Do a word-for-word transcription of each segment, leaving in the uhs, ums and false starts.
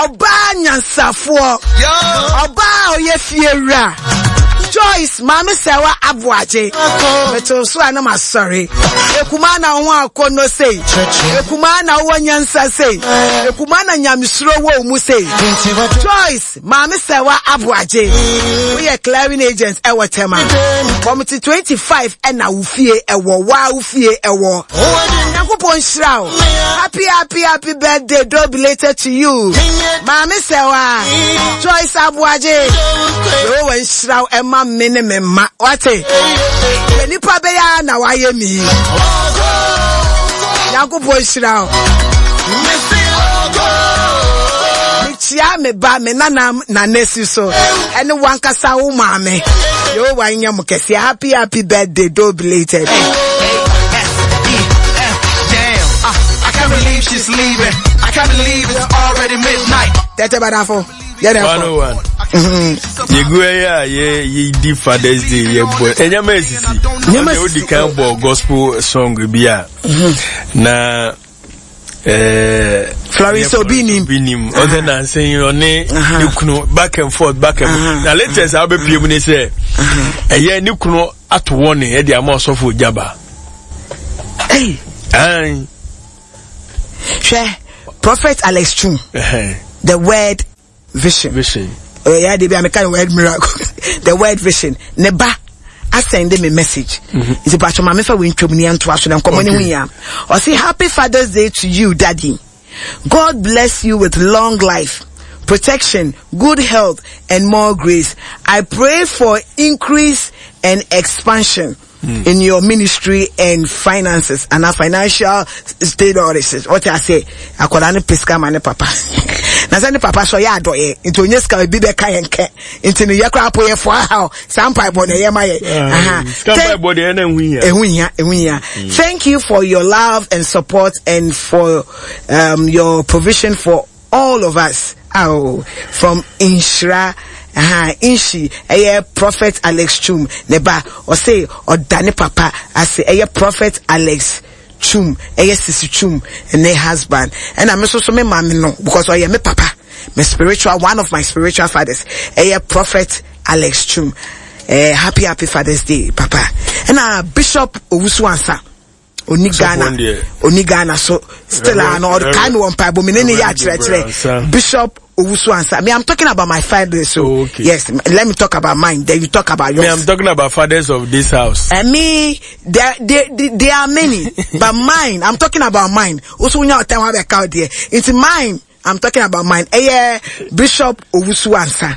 Ɔbaa nyansafoɔ, ɔbaa a ɔyɛ fiewura, Joyce Maame Sɛwa Aboagye. Meto so a na masɔre. Ekuma na wo ho akɔnnɔ sei. Ekuma na wowɔ nyansa sei. Ekuma na nyamesuro wɔ wo mu sei. Joyce Maame Sɛwa Aboagye, woyɛ clearing agent ɛwɔ Tema. Committee twenty-five ɛna wo fie ɛwɔ, waa wo fie ɛwɔ. Nyankopɔn nhyira wo. Happy, happy, happy birthday, though belated to you. Maame Sɛwa, Joyce Aboagye. Yehowa nhyira wo ɛma me ne me mma. Wate? Yɛ nipa bɛyɛ a na wayɛ mi. Nyankopɔn nhyira wo. Mekyia me ba me nanam nanesi so ɛne wankasa wo maame. Yehowa nyɛ mo kɛseɛ. Happy, happy birthday, though belated. Damn, I, I can't believe she's leaving. I can't believe it's already midnight. Tete badafo. Yɛ dɛ One fɔ. oh one. Yɛgu ɛyɛ a yɛ yɛdi Father's Day, yɛbɔ ɛnyɛma esisi. Nneɛma Ɔde odi esisi. kan bɔ gospel song bi a na ɛɛ Florence Obi nim. Obi nim ɔsɛ nansa yi ɔne Aha. ne kunu back and forth, back and forth, na latest a wobɛpie mu ne sɛ ɛyɛ ne kunu ato wɔ ne ɛde ama ɔsɔfo Gyaba. Hey, Ayi. hwɛ, Prophet Alex Chum, Ɛhɛn. The Word Vision. Vision. Oh, yeah, they be I the word miracle. The Word Vision. Ne ba asend me message. Nti pa choma me fa we ntwam ni anto aso na nkɔmɔ ne ho Okay. hia. Ɔse, "Happy Father's Day to you, Daddy. God bless you with long life, protection, good health and more grace. I pray for increase and expansion in your ministry and finances and our financial state orders." What I say, akwadaa ne pesika ma ne papa. Na sɛ ne papa so yɛ adɔyɛ, nti onye sika ebi bɛka yɛn kɛ. Nti no yɛ koraa po yɛ fo ahaw. Saa mpaebɔ na ɛyɛ ma yɛ. Aha. Sika Thank- mpaebɔ deɛ ɛna ɛho hia. Ɛho hia, ɛho hia. "Thank you for your love and support and for um, your provision for all of us." Oh, from Inshra. Aha, Inshi, ɛyɛ Prophet Alex Chum, ne ba, ɔse, ɔda ne papa, ase, ɛyɛ Prophet Alex Chum, ɛyɛ Sisi Chum, ne husband. Ɛna me nso so me maame no, because ɔyɛ me papa, my spiritual, one of my spiritual fathers, ɛyɛ Prophet Alex Chum. Eh, happy, happy Father's Day, Papa. Ɛna Bishop Owusu Ansa, oni Sɔfo Ghana, deɛ. oni Ghana so, still a no, ɔde kae me wɔ mpaebɔ, me ne ne yɛ Reverend akyerɛkyerɛ. Ansa. Bishop Owusu Ansa. Me, I'm talking about my father, so Oh, okay. yes, let me talk about mine, then you talk about Me, yours. I'm talking about fathers of this house. And me, there, there, there, there are many, but mine, I'm talking about mine. Also, when you tell me out there, it's mine. I'm talking about mine. Eh, yeah, Bishop Owusu Ansa.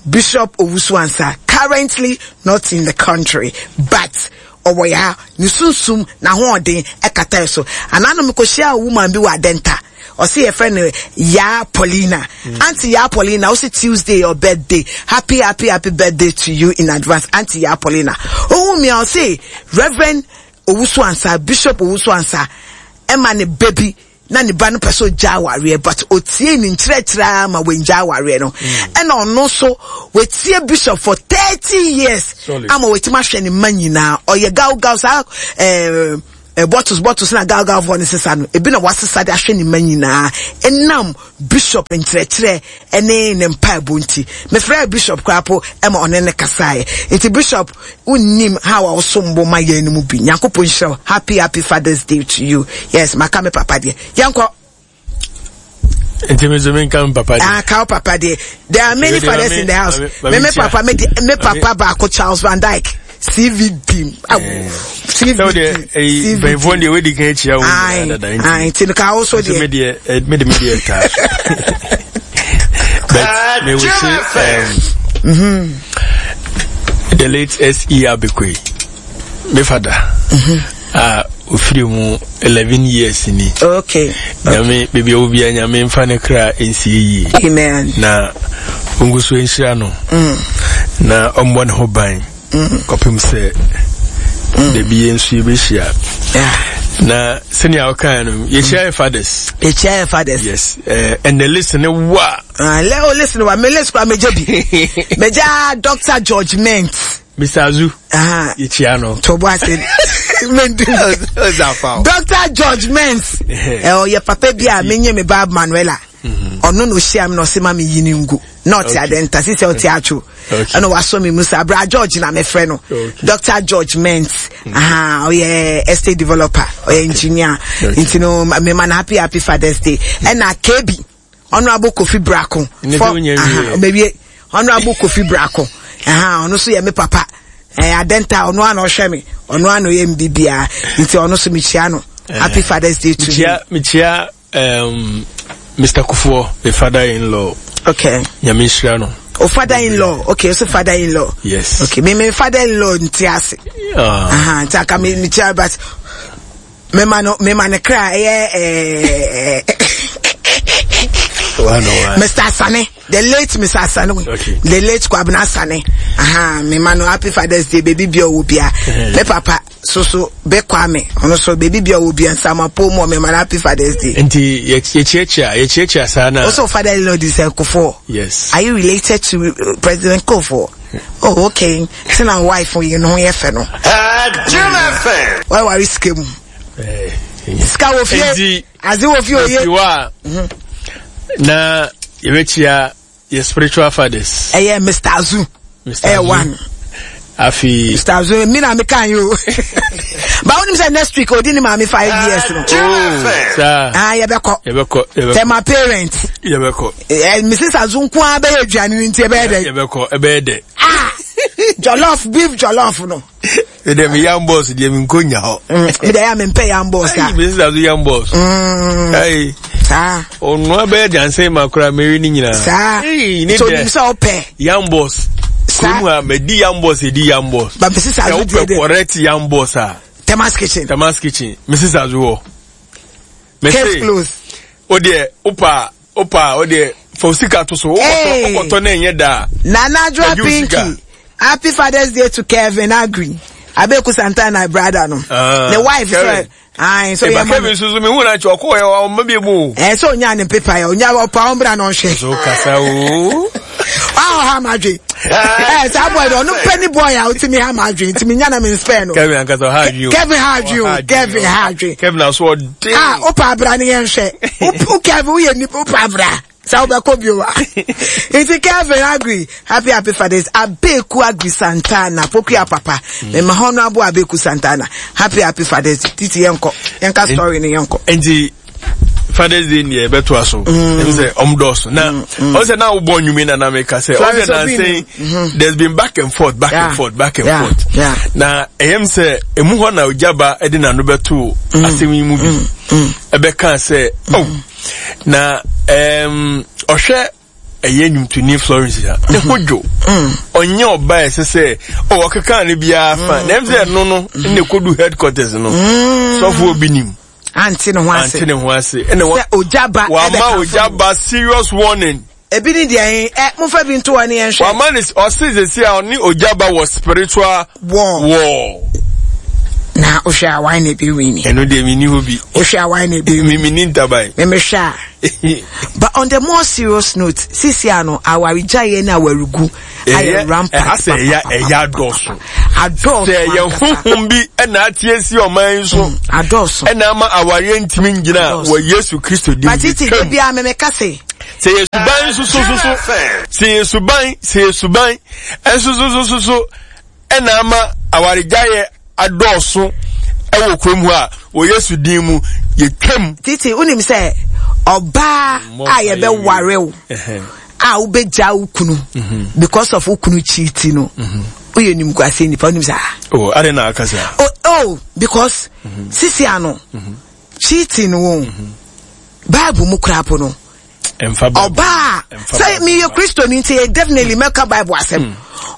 Bishop Owusu Ansa, currently not in the country, but ɔwɔ ya ne sunsum na hoɔden ɛkata so. Anano mekɔhyia woman bi wɔ Adenta. Ɔsi yɛfrɛ no Ya Paulina. Auntie Ya Paulina, ɔsi Tuesday your birthday. Happy, happy, happy birthday to you in advance, Auntie Ya Paulina. Ohun mi a ɔsi Reverend Owusu Ansa, Bishop Owusu Ansa, ɛma ne baby na ne ba no pɛ sɛ ɔgya awareɛ, but otie ne nkyerɛkyerɛ ama wɔngya awareɛ no, ɛna ɔno nso wɔtie Bishop for thirty years Solid. ama wɔtumi ahwɛ ne mma nyinaa. Ɔyɛ gaw gaw saa ɛɛ eh, bottles bottles na gaw gaw foɔ ne sesa no ebi na wasesa de ahwɛ ne mma nyinaa ɛnam Bishop nkyerɛkyerɛ ɛne ne mpaebɔ. Nti mefrɛ Bishop koraa po ɛma ɔne ne kasaeɛ. Nti Bishop, wonnim how a wosom bo ma yɛn no mu bi. Nyankopɔn nhyira wo. Happy, happy Father's Day to you. Yes, maka me papa deɛ, yɛnkɔ. Nti me nso menka me papa deɛ. Ah, ka wo papa deɛ. There are many Mame- fathers in the house. Mame- Me me Mame papa, me de, me Mame- papa baako, Charles Van Dyke, C V D. Aw, Sɛ wo deɛ C V D. ɛyi mpanyinfoɔ deɛ wadi kan akyia wo Aye, nyinaa dada nti. aye, nti no ka wo so Nso me deɛ. deɛ eh, me de me deɛ taa so. But me wish um, the late S E. Abekwe, me father, a ofiri mu eleven years ni. Okay. Nyame baabi a wɔ biara, Nyame mfa ne kra nsie yie. Amen. Na ɔngu so nhyira no na ɔmmɔ ne ho ban kɔpem sɛ dabi yɛn nso yɛbɛhyia. Yeah. Na sɛnea wokae no, yɛhyia yɛ fathers. Yɛkyia yɛ fathers. Yes, uh, and the list ne wa. Ah, le, oh, listen, wa me list kwa megye bi. Megya Doctor George Ment. Mister Azu, Ah, yɛkyia no. Tobo ase. Mendu. Ɔzafa. Doctor George Ment. Eh, ɔyɛ papa bi a menye me ba Manuela. Ɔno na ohyia mi na ɔsɛ ma mi yi ne ngu na ɔte Adenta sisi ɔte Atwo ɛna wasɔ mi mu sa abira George na mefrɛ no, Doctor George Ment. Aha, ɔyɛ estate developer, ɔyɛ engineer, nti no mema no happy happy Father's Day. Ɛna K B, Honourable Kofi Brako fɔ, ɔbɛwie, Honourable Kofi Brako, aha, ɔno nso yɛ me papa. Ɛɛ Adenta, ɔno ana ɔhwɛ mi, ɔno ana ɔyɛ mi bibia, nti ɔno nso mekyia no, happy Father's Day to you. Mekyia um, Mister Kufuor, the father-in-law. Okay. Nyame nhyira no. O father-in-law. Okay, so father-in-law. Yes. Okay, me me father-in-law nti ase. Ah. Aha, nti aka me me kyia, but me ma no me ma ne kra ɛyɛ ɛɛ Mister Asane, the late Mister Asane, Okay. the late Kwabena Asane. Aha, me ma no happy Father's Day, baby bi owo bia. Me papa so so be Kwame, ono so baby bi owo bia nsama po mu, me ma no happy Father's Day. Nti yɛkyiakyia yɛkyiakyia saa na. Also father-in-law is Kufuor. Yes. Are you related to uh, President Kufuor? Oh, okay. Sɛ na wife yi no ho yɛ fɛ no. Jim F M. Why worry sika mu? Eh, Sika wɔ fie. Nti Adze wɔ fie oye. Nti wa na yɛbɛkyia yɛ spiritual fathers. Ɛyɛ Mister Azu. Mister Ɛyɛ Azu. one. Afi. Mister Azu, mi na mi kan yi o. But wonim sɛ next week odi ni maame five years no. Oh, saa. Ah, yɛbɛkɔ. Yɛbɛkɔ. Yɛbɛkɔ. Tell my parents. Yɛbɛkɔ. Eh, Missus Azu nko ara bɛyɛ aduane no nti ɛbɛyɛ dɛ. Yɛbɛkɔ, ɛbɛyɛ dɛ. Ah! Jollof, beef jollof no. Ɛdɛ mi yam boss deɛ mi nko nya hɔ. Mi deɛ ya mi mpɛ yam boss a. Ayi, Missus Azu yam boss. Mm. Ayi. Saa. Onua bɛyɛ jansen ma kura meri ni nyinaa. Saa. Eyi ne So dɛ. nim sɛ ɔpɛ. Yam boss. Saa. Kurom ha mɛ di yam boss edi yam boss. Ba Missus Sɛ Azu deɛ wopɛ dɛ. correct yam boss a. Tema's Kitchen. Tema's Kitchen. Missus Azu wɔ. Mɛ Case se. closed. O deɛ opa opa o deɛ fɔ sika to so. Hey. Wokɔtɔ wokɔtɔ ne nyɛ da. Nana Adwoa Ɛdi wo sika. Pinky. Happy Father's Day to Kevin Agri. Abeku Santana brother no. Ah, The wife Kevin. so aye, so Eba yeah, Kevin nso so mi hu na kyɛ ɔkɔ yɛ ɔma bi mu o. Eh, so onya ne paper ya onya opa ombra no hwe. So kasa o. Ah, ha madwe. Eh, sa boy no no penny boy a otimi ha madwe. Ntimi nya na me spare no. Kevin ankasa ɔha adwi o. Kevin ha adwe o. Ɔha adwi Kevin ha adwe. Kevin aso ɔden. Ah, opa abra ne yɛn hwɛ. O Kevin wo yɛ ni opa abra. Sa wobɛkɔ bio a. Nti Kevin Agri, happy happy Father's. Abeku Agri Santana, Pokuya papa. Me ma honorable Abeku Santana. Happy happy Father's. Titi yɛnkɔ. Yɛnka story ne yɛnkɔ. Nti Father's Day ni ɛbɛto aso. Ɛmu sɛ ɔmo dɔɔso. Na ɔmo sɛ na wobɔ nnwuma na na meka sɛ ɔmo sɛ Florence Obi nansen there's been back and forth, back Yeah. and forth, back and Yeah. forth. Yeah. Na ɛyɛm sɛ emu hɔ na Ogyaba ɛde n'ano bɛto asɛm yi mu bi. Ɛbɛka sɛ oh na ɛɛm ɔhwɛ ɛyɛ nnwomtoni Florence a ne ho dwo, ɔnyɛ ɔba a ɛsɛ sɛ oh ɔkeka ne biara fa na ɛm sɛ ɛno no ɛna ekodu headquarters no, sɔfo Obi nim Ante ne ho ase. Ante ne ho ase ɛna wa Sɛ Ogyaba wama ɛbɛka. Ogyaba serious warning. Ebi ni deɛ ɛ momfa bi nto hɔ ne yɛnhwɛ. Wama ne ɔse sɛsi a ɔne Ogyaba wɔ spiritual war. War. Na wohwɛ a wan na ebi win? Ɛno deɛ menni hɔ bi. Wohwɛ a wan na ebi win? Me menni ntaban. Memehwɛ a, but on the more serious note, sisi ano awaregyaeɛ ne awaregu ayɛ ɛyɛ rampant. Ɛha sɛ ɛyɛ ɛyɛ adɔɔso. Adɔɔso. Sɛ ɛyɛ ankasa. honhom bi ɛna ate asi ɔman yi so adɔɔso ɛna ama awareɛ ntumi ngyina Adɔɔso. wɔ Yesu Kristo din But titi twam. de bia memeka se Sɛ yɛ suban nso so so so sɛ yɛ suban sɛ yɛ suban ɛnso so so so so ɛna ama awaregyaeɛ adɔɔso ɛwɔ kurom hɔ a, wɔ Yesu din mu yɛtwam. Titi, wonim sɛ ɔbaa a yɛbɛware wo a wobɛgya wo kunu because of wo kunu cheat no, woyɛ nimguase nipa. Wonim saa? Oh, ade na aka saa? Oh, oh because sisi ano cheating wo Bible mu koraa po no ɛmfa Bible. Ɔbaa Ɛmfa sɛ Bible. meyɛ Kristoni nti yɛ definitely mɛka Bible asɛm.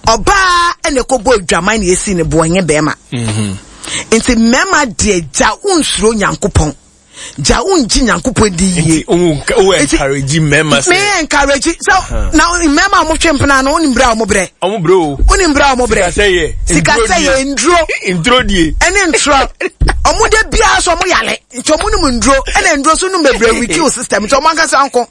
Ɔbaa ɛna ɛkɔbɔ adwaman na yɛsi ne boɔ, nyɛ bɛrima. Nti mmarima deɛ, gya wonsuro Nyankopɔn, gya wongye Nyankopɔn di yie. Nti wo wo Nti- encourage mmarima sɛ meyɛ encourage sɛ na mmarima a wɔtwe mpena no, wonim berɛ a wɔbrɛ. Ɔmo brɛ o. Wonim berɛ a wɔbrɛ. Sikasɛ yɛ sikasɛ yɛ nduro. Nduro die. Ɛne ntorɔ ɔmo de biara so ɔmo yale, nti ɔmo nom nduro, ɛna nduro so nom bebree we kill system, nti ɔmo ankasa nko.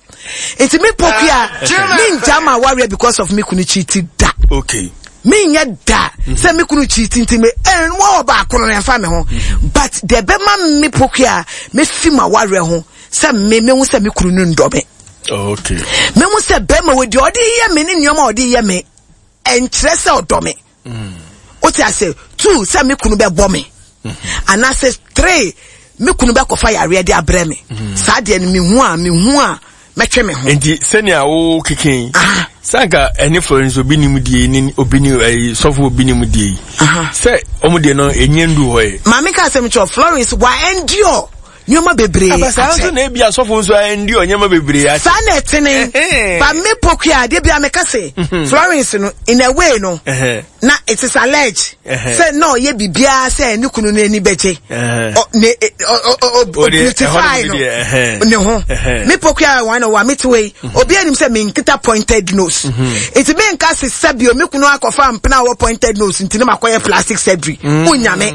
Nti me Pokua, me ngya ma awareɛ because of me kunu cheat da. Okay me nyɛ da sɛ me kunu cheat nti me ɛn wɔ baako no ɛnfa me ho, but deɛ bɛma me Pokua me fi ma awareɛ ho sɛ me me ho sɛ me kunu no ndɔ me. Oh, okay. Mehu sɛ bɛrima wɔ deɛ ɔde yɛ me ne nneɛma a ɔde yɛ me ɛnkyerɛ sɛ ɔdɔ me. Wote ase two sɛ me kunu bɛbɔ me anaasɛ three me kunu bɛkɔfa yareɛ de abrɛ me. Saa deɛ no mehu a mehu a mɛtwe me ho. Nti sɛnea wo keke sanka ɛne Florence obi nim die ne obi ni ɛyi sɔfo obi nim die yi sɛ ɔmo deɛ no enye ndu hɔ yi. Maame ka asɛm kyerɛ Florence wa endure nneɛma bebree. Abasa nso na ebi asɔfo nso endure nneɛma bebree akyɛ. Saa na ɛtene ba me pokua adeɛ bi a meka se Florence no in a way no na it is alleged sɛ na ɔyɛ biribiara sɛ ne kunu no ani bɛgye ne o beautify no ne ho. Me pokua wɔn na wa me te wei obi anim sɛ me nkita pointed nose nti me nka se sɛbio me kunu akɔfa mpena wɔ pointed nose nti ne ma kɔyɛ plastic surgery onyame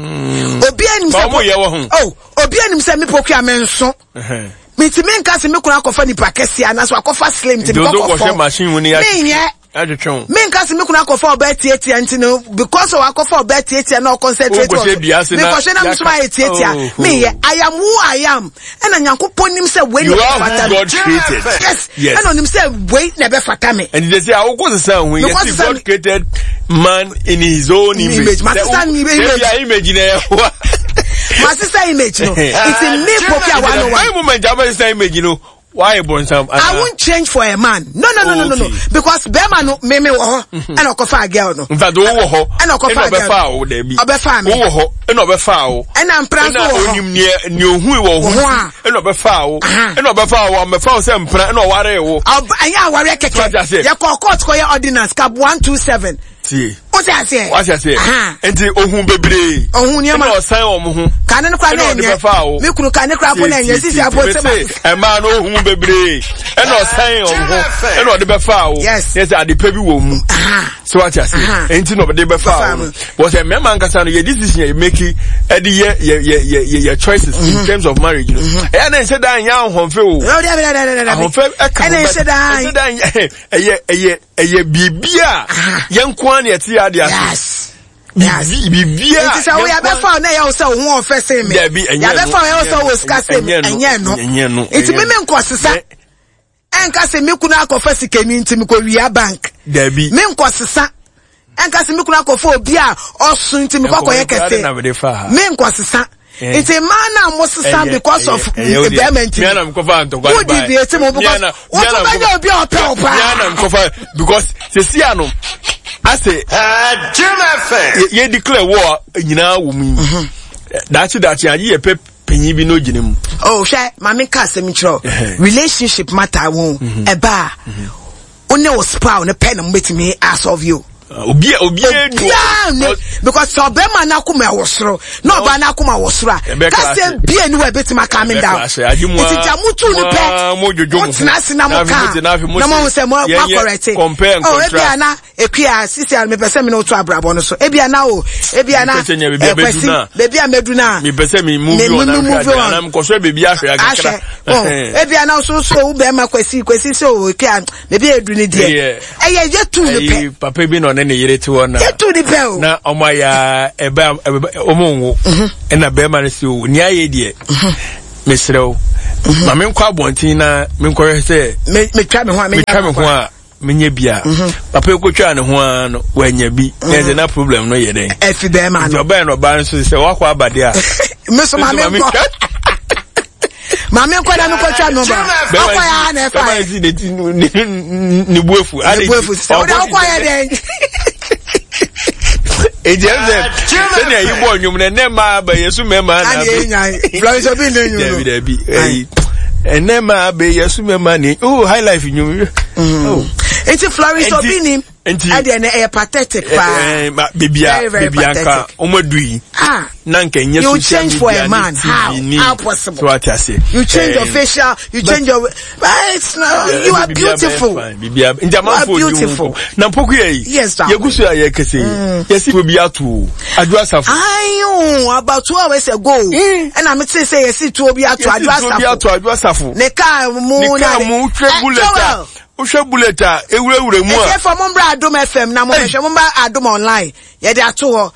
obi anim sɛ oh obi anim sɛ me pokua me nso nti me nka se me kunu akɔfa nipa kɛse anaso akɔfa slim nti me kɔkɔfɔ me nyɛ me nka se me kunu akɔfa ɔbɛ tietia nti no because of akɔfa ɔbɛ tietia na ɔconcentrate on me kɔhwɛ na me so ayɛ tietia me yɛ I am who I am ɛna Nyankopɔn nim sɛ wei na ɛbɛfata me. Yes, ɛna onim sɛ wei na ɛbɛfata me. And they say awokɔ sesa ho yɛ si God created man in his own image. Masesa image. Image na ɛwɔ. Masesa image no. It's me poki a one one. One moment abɛsesa image no. Why Bonsam? I won't change for a man. No, no, no, no, no, no. Because Bema no me me wo and okofa girl no. In fact, wo ho. And okofa girl. Obefa me. Wo ho. And obefa wo. And I'm pran so wo. Onim ne ne ohu wo ho. And obefa wo. And obefa wo. Obefa wo se mpran and oware wo. Anya aware keke. Ye call court ko ye ordinance cap one two seven. Tie. O se ase. Wa se ase. Enti ohun bebre. Ohun niam. Na osan wo ho. Ka ne kra na enye. Me kunu ka ne kra po na enye sisi apo se ba. E ma no ohun bebre. E na osan wo ho. E na ode befa wo. Yes. Yes, ade pa bi wo mu. So what you say? Enti no ode befa wo. But say me man kasa no ye decision ye make e de ye ye ye ye choices in terms of marriage no. E na nse dan ya ahonfe o. Ahonfe e ka. E na nse dan. Nse dan e ye e ye bibia ye nko na ete ade ase. Yes. Yes. Bibia. Nti sɛ wo ya bɛfa na ya wo sɛ wo ho ɔfɛ sɛ me. Ya bɛfa ya wo sɛ wo sika sɛ me. Ɛnyɛ no. Nti me me nkɔ sesa. Ɛnka sɛ me kunu akɔfa sikani nti me kɔ wia bank. Dabi. Me nkɔ sesa. Ɛnka sɛ me kunu akɔfa obi a ɔso nti me kɔkɔ yɛ kɛse. Me nkɔ sesa. Nti man na mo sesa because of bɛrima nti. Me na mkɔfa ntɔkwa. Wo di bi eti mo because wo to bɛnyɛ obi a ɔpɛ wo paa. Me na mkɔfa because sisi ano ase Jim F M. Ye declare war nyina wo mu. Dachi dachi ayi ye pe panyin bi no gine mu. Oh hwɛ maame ka asɛm kyerɛ. Relationship matter wo ɛba. Wo ne wo spouse ne pɛ na mo betumi asolve you. Obi obi edu because so be man na akoma wo soro na oba na akoma wo soro a ka se bie ni we betima coming down iti jamutu ni pe mo tena se na mo ka na mo se mo correct oh ebi ana ekua sisi a me pese me no to abrabo no so ebi ana o ebi ana ekwesi bebi a medu na me pese me move on na me koso bebi ahwe akakra oh ebi ana so so wo be ma kwesi kwesi so ekua bebi edu ni de eye ye tu ni pe papa bi no ne ne yere ti wona ye tu ni pe o na omo ya eba omo nwo e na be ma ne se o ni aye de mesrew ma me nkwa abontin na me nkɔhwɛ sɛ me metwa me ho a me twa me ho a menye bia papa ekotwa ne ho a no wanya bi na ze na problem no ye den e fi be ma no oba no ba nso se wakɔ abade a me so ma me nkɔ ma me nkɔ na me kɔtwa no ba akɔ ya na e fa ba si ne ne buafu ne buafu se o da akɔ ya den e je se se na yi bo nwum na ne ma ba yesu me ma na be Florence obi ne nwum no dabi dabi ene ma be yesu me ma ni oh high life nwum oh enti Florence obi ni ade na e pathetic pa eh bibia bibia nka omadu ah na nka enye you change for a man how how possible so what I say you change your facial you change your but it's not, you are beautiful bibia njamanfo beautiful na mpoku ye yes sir yegusu ya ye kese yesi obi atu adwo asafo ayo about two hours ago and I'm say say yesi tu obi atu adwo asafo obi atu adwo asafo ne ka mu na mu twe bullet Ushe bullet a ewure ewure mu a. Ese for mo mbra Adom F M na mo hwe mo mbra Adom online. Ye de ato ho.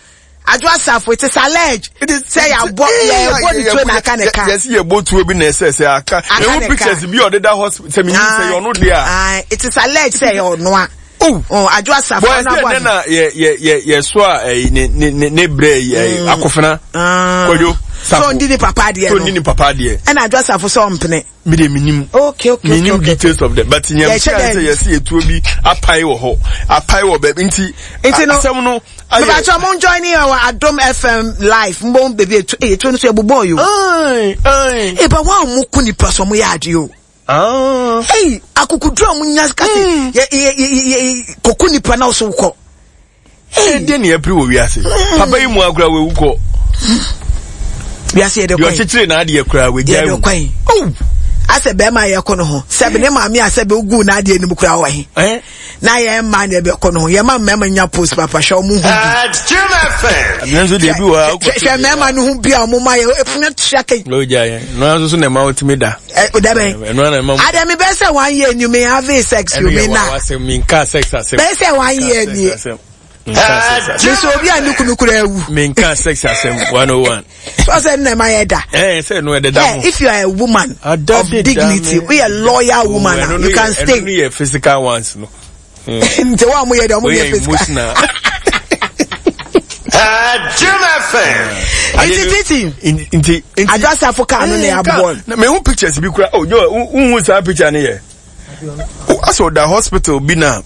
Adwoa Safo, it is alleged. Sɛ yɛabɔ yɛbɔ ne tuo na aka ne ka. Yɛsi yɛbɔ tuo bi na ɛsɛ sɛ aka. Ehu pictures bi ɔdeda hospital sɛ mi sɛ yɛ ɔno deɛ a. It is alleged sɛ yɛ ɔno a. Oh, oh Adwoa Safo. Bɔn ɛsɛ ɛnɛ na yɛ yɛ yɛ yɛ so a ɛyi ne ne ne ne brɛ yi ɛyi akofena. Kwadwo Safo. So ndi ne papa adeɛ no. So ndi ne papa adeɛ. Ɛna Adwoa Safo sɛ ɔmpene. Mi de mi nim. Okay okay mi nim details of that but nyɛ mi sɛ yɛsi etuo bi apae wɔ hɔ apae wɔ baabi nti. Nti no asɛm no. Mepakyɛ mo join yɛ wɔ Adom F M live mbɔ beebi etu eyi etuo no so ɛbobɔ yi o. Ayi ayi. Eba wɔn a wɔn ko nipa so wɔn yɛ adeɛ o. Eyi akukuduro a wɔn nya kasi yɛ yɛ yɛ yɛ koko nipa na ɔso kɔ. Eyi deɛ ni ɛpiri wɔ wiase papa yi mu akora wɔ ewu kɔ. Wiase yɛ de kwan. Deɛ ɔkyekyere n'adeɛ koraa wɔ egya mu. Yɛ de kwan. Asɛ bɛrima yɛ kɔ no ho sɛbi ne maame asɛbi ogu n'adeɛ no mu koraa wɔ he. Na yɛn mmaa na ɛbɛkɔ no ho yɛn mma mmarima nya post papa hwɛ ɔmo ho bi. Nanso deɛ bi wɔ ha hwɛ mmarima no ho bi a ɔmo ma yɛ efunu atua kɛyi. N'o gya yɛn n'o nso so na ɛma ɔtumi da. Ɛ o dɛbɛ. Ɛno na ɛma. Adami bɛ sɛ one year ni mi have sex you mi na. Ɛno yɛ wa mi nka sex asɛm. Bɛ sɛ one year ni. Nso obi a ne kunu kura ewu. Mi nka sex asɛm one oh one. Sọ nna ma yɛ da. Ẹ sẹ nu ẹdẹ da mu. If you are a woman of dignity, we are loyal woman, oh, you can stay. Ẹnu yẹ physical ones no. Nti wọn a mo yẹ dẹ ọmọ yẹ physical. Emotional. Jim F M. Nti titi. Nti nti. Adwoa Safo kaa no na yɛ abɔ. Na mehu pictures bi kura. Oh, yo, n hu saa picture ni yɛ. Asɔ da hospital bi na.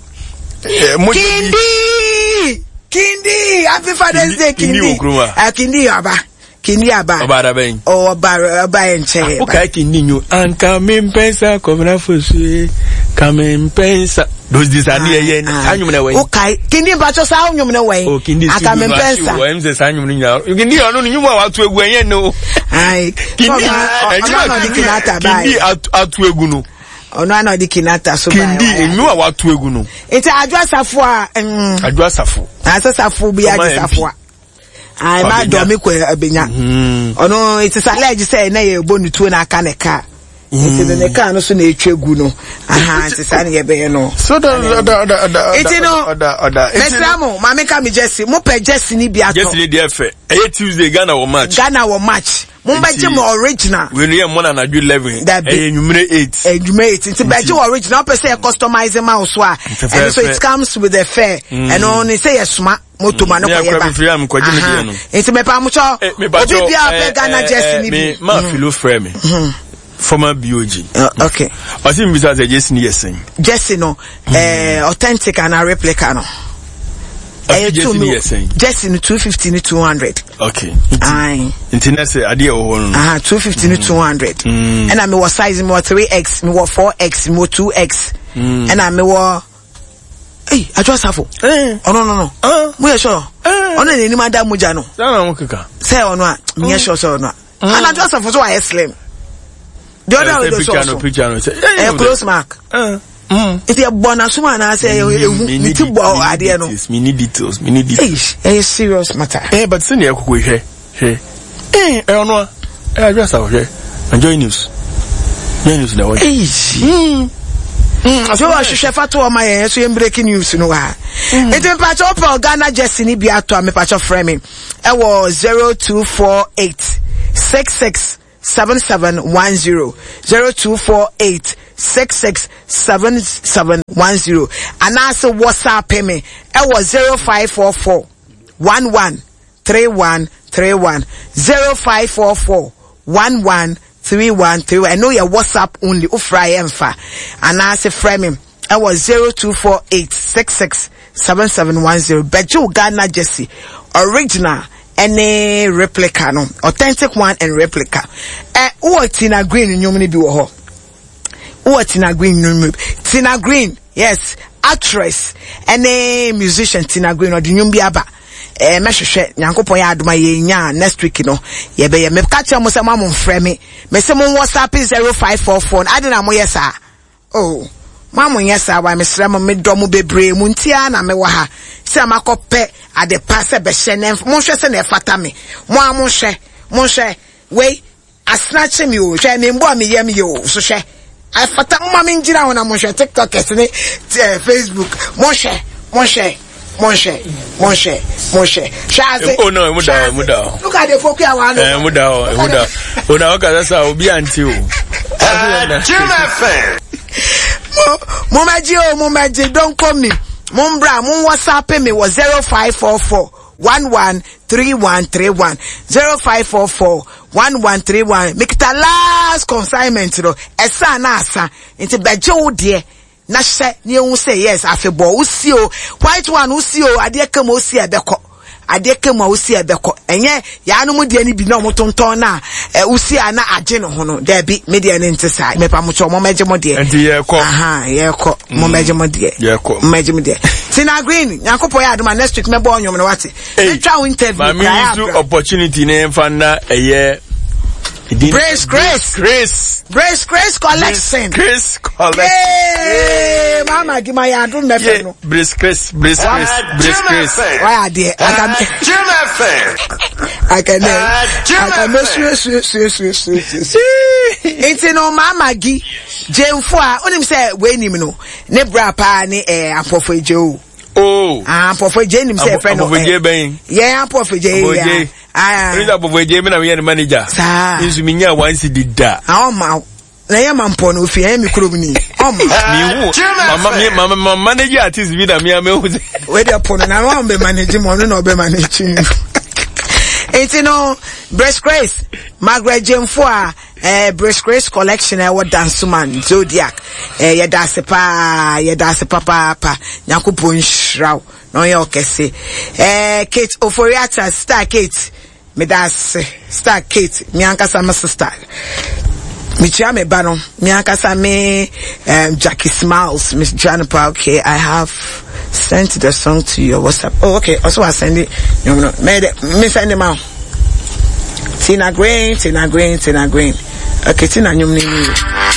Kindi! Kindi! Happy Father's Day, Kindi. Kindi wɔ kurom a. Uh, Kindi aba. Kindi aba. Ɔba ada bɛn? Oh, ɔba ɔba yɛ nkyɛn. O kae Kindi nyo. Anka mi mpɛnsa kɔmina fosue. Ka mi mpɛnsa. Those days ani yɛ yɛ saa nnwom na wɛn. O kae Kindi mpatsɔ saa nnwom na wɛn. O Kindi Anka mi mpɛnsa. Wɔ ɛmu sɛ saa nnwom no nyinaa. Kindi ɔno no nnwom a wato egu ɛnyɛ no. Ayi. Kindi ɛnwom a Kindi ato egu no. Ɔno ana ɔde kinata so baa. Kindi nnwom a wato egu no. Nti Adwoa Safo a. Adwoa Safo. Asɛ Safo bi agye Safo a. Ayi ma dɔ mi kɔ abenya. Ɔno it is alleged sɛ ɛnɛ yɛ bɔ ne tuo na aka ne kaa. Nti ne ne kaa no so na etwa gu no. Aha nti saa ne yɛ bɛyɛ no. So da da da da da. Nti no mesra mo maame ka mi Jesse mo pɛ Jesse ni bi atɔ. Jesse ni deɛ fɛ ɛyɛ Tuesday Ghana wɔ match. Ghana wɔ match. Mo bɛ gye mo original. Wei no yɛ mmɔ na anadwo eleven. Dabi. Ɛyɛ nwumire eight. Nwumire eight. Nti bɛ gye wɔ original wopɛ sɛ yɛ customize ma wo so a. Ɛno so it comes with a fare. Ɛno ne sɛ yɛ soma moto ma no kɔ yɛ ba. Nti mɛpa mo kyɛ obi bi a pɛ Ghana jersey ni bi. Ma filo frɛ me. Former B O G. Uh, okay. Ɔsi mi bisa sɛ jersey ni yɛ sɛn. Jersey no eh, authentic and replica no. Ɛyɛ two mi jersey no two fifty ni two hundred. Okay. Nti nti na sɛ adeɛ wɔ hɔ no. Aha two fifty ni two hundred. Ɛna mi wɔ size mi wɔ three X mi wɔ four X mi wɔ two X. Ɛna mi wɔ. Ee Adwoa Safo. Ɔno no no. Mo yɛ sure. Ɔno na n'anim ada mogya no. Sɛ ɔno keka. Sɛ ɔno a mi yɛ sure sɛ ɔno a. Ɛna Adwoa Safo so wayɛ slim. The other way so so. Ɛyɛ close mark. Nti ɛbɔ n'asom anaasɛ ehu ne ti bɔ adeɛ no. Mi ni details, mi ni details. Ɛyɛ serious matter. Eh, but sɛ ɛkoko hwɛ hwɛ. Eh, ɛyɛ ɔno a ɛyɛ Adwoa Safo hwɛ. Enjoy news. Enjoy news na ɛwɔ. Eyi. So ɔhwehwɛ fa to ɔma yɛn so yɛn breaking news no wa. Nti mpatsɔ ɔpɛ Ghana jersey ni bi ato a mepatsɔ frɛ me ɛwɔ zero two four eight six six seven seven one zero zero two four eight six six seven seven one zero anaasɛ WhatsApp me ɛwɔ zero five four four one one three one three one zero five four four one one three one three one. ɛno yɛ WhatsApp only wofra yɛ mfa anaasɛ frɛ me ɛwɔ zero two four eight six six seven seven one zero. Bɛgye Ghana jersey original any replica no, authentic one and replica. Eh, who Tina Green nnwom ni bi wɔ hɔ. Who Tina Green nnwom? Tina Green, yes, actress any musician Tina Green or nnwom bi aba. Eh, mehwehwɛ Nyankopɔn yɛ adoma yɛ nya next week no. Ye be ye me ka kyerɛ mo sɛ mo amfrɛ me. Me se mo WhatsApp zero five four four. Ade na mo yɛ saa. Oh, mo nyɛ saa wa mesrɛ mo medɔ mo bebree mo ntia na me wɔ ha. Sɛ makɔpɛ ade pa sɛ bɛhyɛ ne mo hwɛ sɛ na ɛfata me. Mo a mo hwɛ, mo hwɛ. Wei asena me o, hwɛ me mbo a me yam ye o, so hwɛ. Afata mo ma me ngyina ho na mo hwɛ TikTokers ne Facebook. Mo hwɛ, mo hwɛ. Monhwɛ, monhwɛ, monhwɛ. Hwɛ ase. Oh no, emu da hɔ, emu da hɔ. Look at the poku awa no. Eh, emu da hɔ, emu da hɔ. O na ɔka sɛ obi ante o. Jim F M. Mo mo mɛgye o, mo mɛgye. Don't call me. Mo mbra, mo WhatsApp me wɔ zero five four four one one three one three one zero five four four one one three one. Mekita last consignment no. Ɛsa na asa. Nti bɛgye wo deɛ. Na hyɛ ne ehu sɛ yes, afebɔ wosi o, white one wosi o, adeɛ kama wosi a ɛbɛkɔ, adeɛ kama wosi a ɛbɛkɔ. Ɛnyɛ yaanom deɛ no bi na ɔmo tontɔn na ɛ wosi a na agye ne ho no. Dɛbi, me deɛ ne nte saa. Mepa mo kyɛw, mo mɛgye mo deɛ. Nti yɛkɔ. Aha, yɛkɔ, mo mɛgye mo deɛ. Yɛkɔ. Mo mɛgye mo deɛ. Tina Green, Nyankopɔn yɛ adoma, next week mɛbɔ ɔnwom no, wate? Hey, metwa wo interview. Maame kura yi so abra. Opportunity ne nfa na ɛyɛ. Brace Grace. Grace. Brace Grace Collection. Grace Collection. Yay! Mama gima yɛ adom mɛfɛ Yeah, no. Brace Grace, Brace Grace, Brace Grace. Wayɛ adeɛ. Aka Jim F M. Aka ne. Aka me sue sue sue sue sue sue. Nti no Mama Gi Jemfo a onim sɛ wei nim no ne bra paa ne eh Ampɔfo Egye o. Oh. Ah, Ampɔfo Egye nim sɛ ɛfrɛ no. Ampɔfo Egye bɛn? Yɛn Ampɔfo Egye Ampɔfo yi Egye. Ah. Ɛni sɛ Ampɔfo Egye mi na mi yɛ ne manager. Saa. Nso mi nya one cedi da. Ah, ɔma na yɛ ma mpɔ no ofi ɛyɛ mi kurom ni ɔma. Mi hu mama mi mama ma manager artist bi na mi ame hu sɛ. Wei deɛ po no na wɔn bɛ manage mu, ɔno na ɔbɛ manage mu. Nti no Brace Grace Margaret Jemfo a eh, Brace Grace Collection ɛwɔ Dansoman Zodiac, eh, yɛda ase paa, yɛda ase papaapa. Nyankopɔn nhyira wo na ɔyɛ ɔkɛse. eh, Kate Oforiata, Star Kate, meda ase. Star Kate, me ankasa me sister, mekyia me ba no, me ankasa me um, Jackie Smiles, mekyia no pa. Okay, I have sent the song to your WhatsApp. Oh, okay, also I send it no no me me send it ma Tina Green, Tina Green, Tina Green. Okay, Tina nyum ni ni.